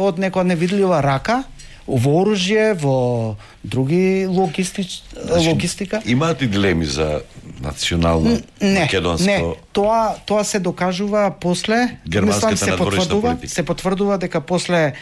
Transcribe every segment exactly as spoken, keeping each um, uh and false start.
од некоја невидлива рака во оружје, во други логистич... значи, логистика. Имаат и дилеми за национално не, македонско? Не, тоа тоа се докажува после, германската се потврдува, политика. се потврдува дека после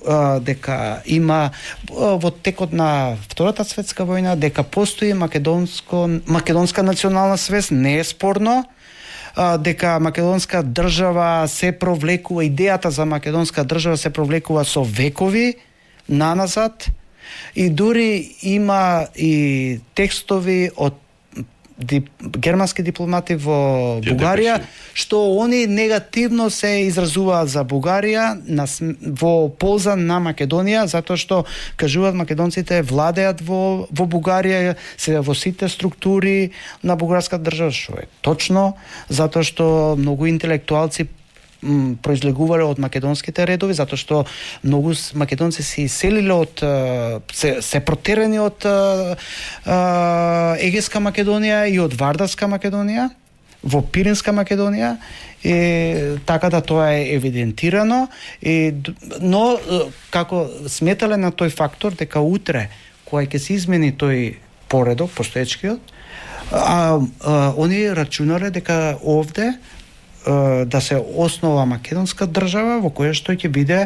а, дека има а, во текот на Втората светска војна дека постои македонско македонска национална свест, не е спорно. А, дека македонска држава се провлекува, идејата за македонска држава се провлекува со векови наназад, и дури има и текстови од дип, германски дипломати во Бугарија, што они негативно се изразуваат за Бугарија на, во полза на Македонија, затоа што кажуваат македонците владеат во, во Бугарија, се во сите структури на бугарска држава, што е точно, затоа што многу интелектуалци произлегувале од македонските редови, затоа што многу македонци се иселиле од се, се протерени од Егејска Македонија и од Вардарска Македонија во Пиринска Македонија, и така да тоа е евидентирано, и, но како сметале на тој фактор дека утре кога ќе се измени тој поредок постоечкиот, а, а они рачунале дека овде да се основа македонска држава во која што ќе биде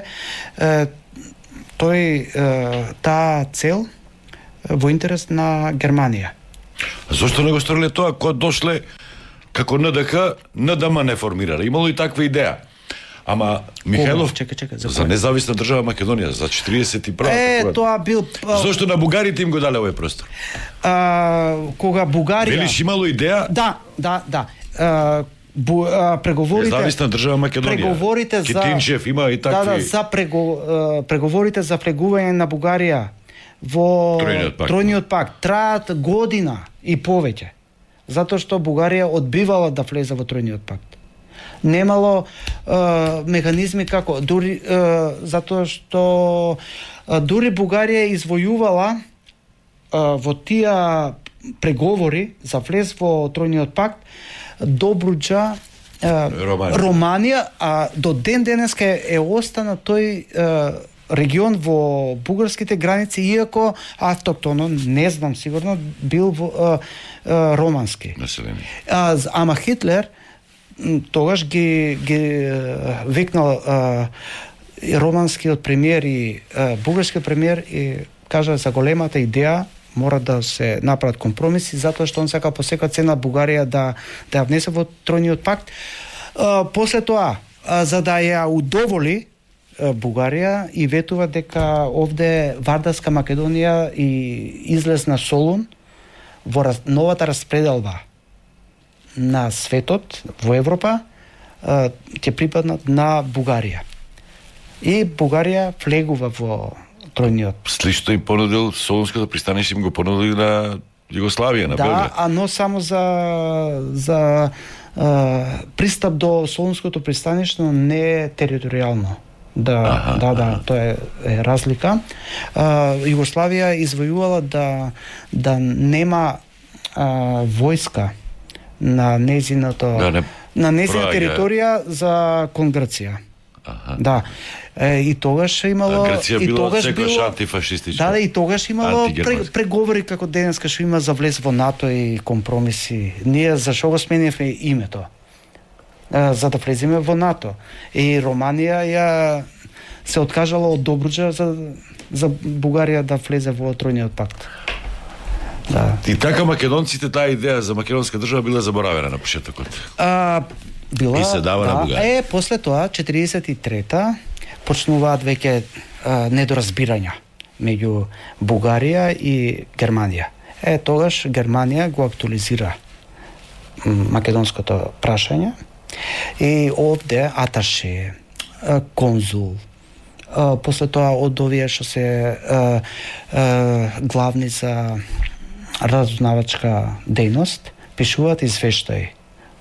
е, тој е, таа цел во интерес на Германија. А зошто не го сториле тоа кога дошле како ен де ха, ен де ем не формирале? Имало и таква идеја. Ама Михајлов чека, чека, за, за независна држава Македонија за четиридесет и прва. Е, тоа бил зошто на бугарите им го дале овој простор? А, кога Бугарија Велиш имало идеја? Да, да, да. А, Бу, а, преговорите независна држава Македонија. Преговорите за Китинчев има и такви. Да, да, за прего, а, преговорите за влегување на Бугарија во Тројниот пакт, Тројниот пакт траат година и повеќе. Затоа што Бугарија одбивала да влезе во Тројниот пакт. Немало а, механизми како дури а, затоа што а, дури Бугарија извојувала а, во тие преговори за влез во Тројниот пакт Добруџа, Романија. Романија, а до ден денеска е остана тој е, регион во бугарските граници, иако автоктоно, не знам сигурно, бил во, е, е, романски. Население. А, ама Хитлер тогаш ги, ги викнал е, романскиот премиер и е, бугарскиот премиер и кажа за големата идеја мора да се направат компромиси, затоа што он сака по секоја цена Бугарија да да ја внесе во Тројниот пакт. А, после тоа, а, за да ја удоволи а, Бугарија и ветува дека овде Вардарска Македонија и излез на Солун во раз, новата распределба на светот во Европа а, ќе припаднат на Бугарија. И Бугарија влегува во Тројниот. Слично им понудил Солунското пристанище, им го понудил на Југославија, на да, Белград. Да, а но само за за а, пристап до Солунското пристаниште, не е територијално. Да, аха, да, да, аха. Тоа е, е разлика. А, Југославија извојувала да да нема а, војска на незиното да, не, на незина територија за кон Грција. Аха. Да. Е, и тогаш имало а Грција и било тогаш секојаш било антифашистичка. Да, да, и тогаш имало преговори како денеска што има за влез во НАТО и компромиси. Ние зашо го сменивме името? А, за да влеземе во НАТО. И Романија ја се откажала од Добруџа за за Бугарија да влезе во Тројниот пакт. Да. И така македонците таа идеја за македонска држава била заборавена на почетокот. А била и се дава да, на Бугарија. Е, после тоа четиридесет и трета почнуваат веќе недоразбирања меѓу Бугарија и Германија. Е, тогаш Германија го актуализира македонското прашање и овде аташе, конзул, после тоа од овие што се главни за разузнавачка дејност пишуваат извештаи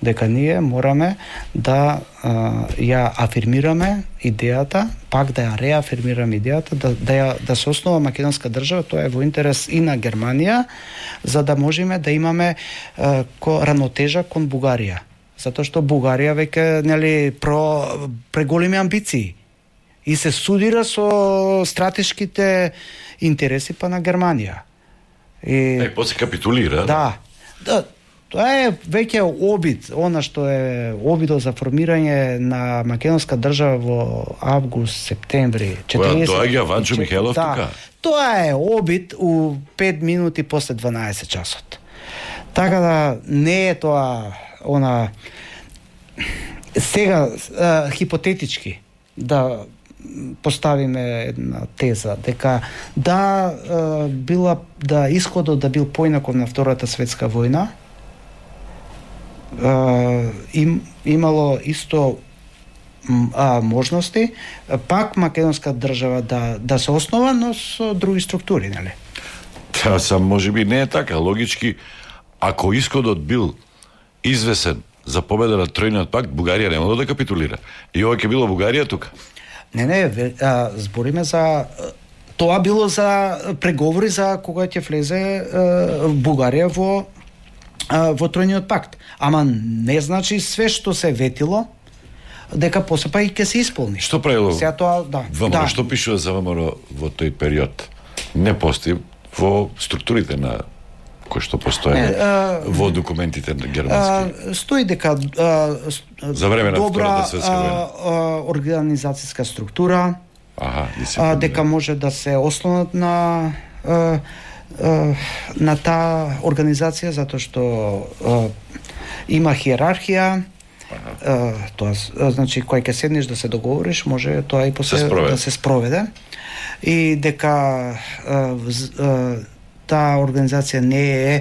дека ние мораме да а, ја афирмираме идејата, пак да ја реафирмираме идејата, да, да, ја, да се основа македонска држава, тоа е во интерес и на Германија, за да можеме да имаме а, ко, равнотежа кон Бугарија. Затоа што Бугарија веќе нели про преголеми амбиции и се судира со стратешките интереси па на Германија. И Е, после капитулира. да. Да, тоа е веќе обид, она што е обидот за формирање на македонска држава во август, септември Која доаѓа Ванчо Михајлов да, тука? Тоа е обид у пет минути после дванаесет часот. Така да не е тоа она сега а, хипотетички да поставиме една теза дека да а, била да исходот да бил поинаков на Втората светска војна, а, им имало исто а, можности пак македонска држава да да се основа, но со други структури, нели? Та сам можеби не е така, логички ако исходот бил извесен за победа на Тројниот пакт, Бугарија немало да капитулира. И ова ќе било Бугарија тука. Не, не, а, збориме за тоа било за преговори за кога ќе влезе а, Бугарија во а, во Тројниот пакт. Ама не значи све што се ветило дека после па и ќе се исполни. Што правило? Сега тоа, да. ВМРО, да. што пишува за ВМРО во тој период? Не постои во структурите на кои што постои Не, а, во документите на германски. А, стои дека а, За време на добра Втората светска војна. а, а, организацијска структура, Аха, а, дека може да се ослонат на а, а, на таа организација затоа што а, има хиерархија. А, тоа а, значи кој ќе седнеш да се договориш, може тоа и после се да се спроведе. И дека а, вз, а, таа организација не е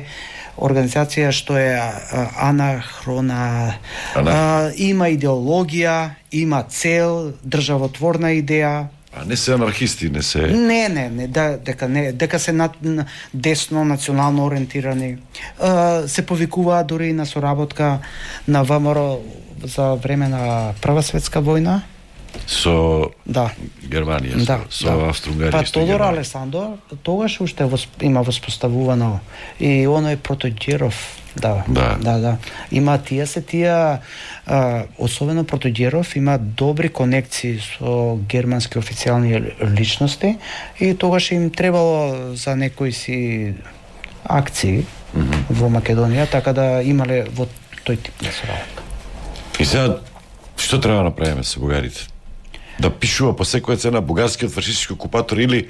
организација што е а, анахрона, Ана... а, има идеологија, има цел, државотворна идеја. А не се анархисти, не се... Не, не, не, да, дека не, дека се на, на десно национално ориентирани. А, се повикуваат дури и на соработка на ВМРО за време на Прва светска војна. Со Да. Германија, Да, со, да. со Австро-Унгарија. Па исто Тодор Германија. Алесандро тогаш уште восп... има воспоставувано и оној Протоѓеров, да, Да. да, да. Има тие се тие, а, особено Протоѓеров има добри конекции со германски официјални личности и тогаш им требало за некои си акции mm -hmm. во Македонија, така да имале во тој тип на соработка. И сега, што треба да направиме со бугарите? Да пишува по секоја цена бугарскиот фашистички окупатор или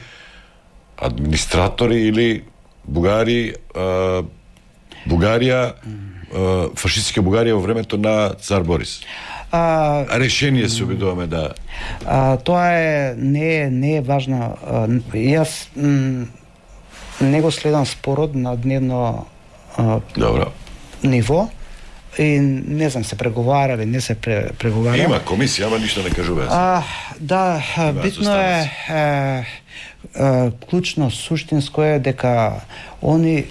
администратори или бугари, а, Бугарија, а, фашистичка Бугарија во времето на цар Борис. А, Решение се обидуваме да... А, тоа е не е не е важно. А, јас м, не го следам спорот на дневно а, Добро. ниво и не знам се преговарали, не се пре, преговара. Има комисија, ама ништо не кажува. А, да, Има битно е, е, е клучно, суштинско е дека они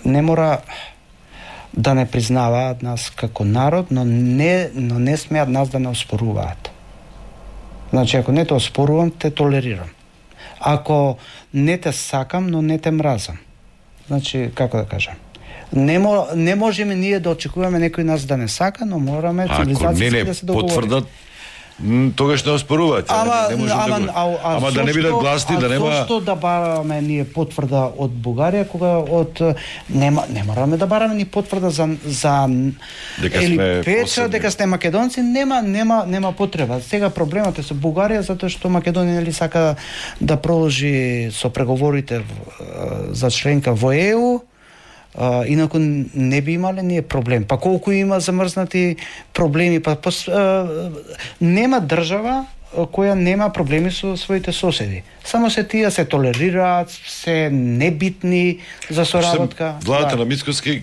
не мора да не признаваат нас како народ, но не, но не смеат нас да не оспоруваат. Значи, ако не те оспорувам, те толерирам. Ако не те сакам, но не те мразам. Значи, како да кажам, не, мо, не можеме ние да очекуваме некој нас да не сака, но мораме цивилизацијски да се договориме. Потврдат, м, тогаш не оспоруваат. Ама, не, не можем ама, да го... а, а, ама да не бидат гласни, да нема... А зошто да бараме ние потврда од Бугарија, кога од нема не мораме да бараме ни потврда за за дека или сме печа, посебни. дека сте македонци, нема нема нема потреба. Сега проблемот е со Бугарија затоа што Македонија нели сака да продолжи со преговорите за членка во Е У. Uh, инаку не би имале ние проблем. Па колку има замрзнати проблеми, па пос, uh, нема држава која нема проблеми со своите соседи. Само се тие се толерираат, се небитни за соработка. Владата да. на Мицкоски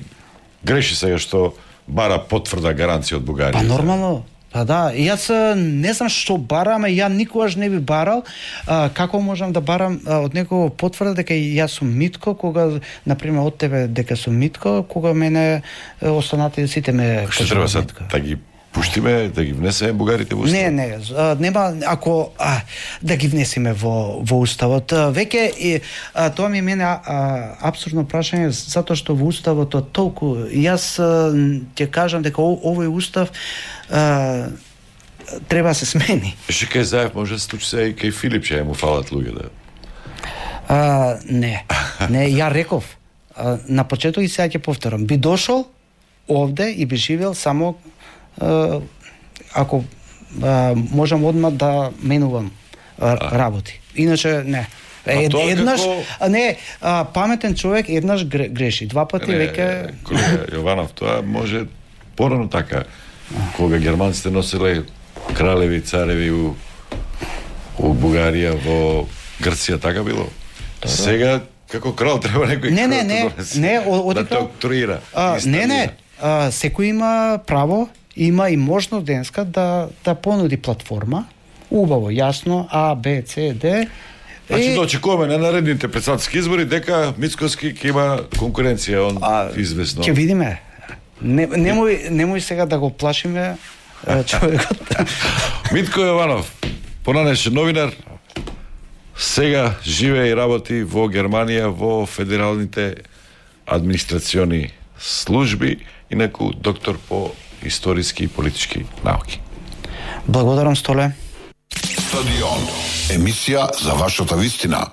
греши сега што бара потврда гаранција од Бугарија. Па нормално. Па да, јас не знам што барам, ја никогаш не би барал. А, како можам да барам а, од некого потврда дека јас сум Митко, кога, например, од тебе дека сум Митко, кога мене останати сите ме Што треба sad да ги пуштиме, да ги внесеме бугарите во уставот? Не, не, а, нема ако а, да ги внесеме во во уставот. А, веќе и а, тоа ми мене а, апсурдно прашање затоа што во уставот толку јас а, ќе кажам дека о, овој устав а, треба да се смени. Ше кај Заев може да се случи се и кај Филип, че му фалат луѓе да. А, не. Не, ја реков. А, на почеток и сега ќе повторам. Би дошол овде и би живел само а, ако а, можам одма да менувам а, работи. Иначе не. Е, еднаш, како... не, а, паметен човек еднаш греши, два пати веќе... Колега Јованов, тоа може порано така, кога германците носеле кралеви, цареви у, у Бугарија, во Грција, така било. Сега, како крал, треба некој не, не, не, не, од, да доктруира. Не, не, а, секој има право, има и можност денеска да, да понуди платформа, убаво, јасно, А, Б, С, Д. Значи да очекуваме на наредните председателски избори дека Мицкоски ќе има конкуренција, он а, известно. Ќе видиме. Не, немој, немој сега да го плашиме човекот. Митко Јованов, понадешен новинар, сега живее и работи во Германија во федералните администрациони служби, инаку доктор по историски и политички науки. Благодарам, Столе. Стадион. Емисија за вашата вистина.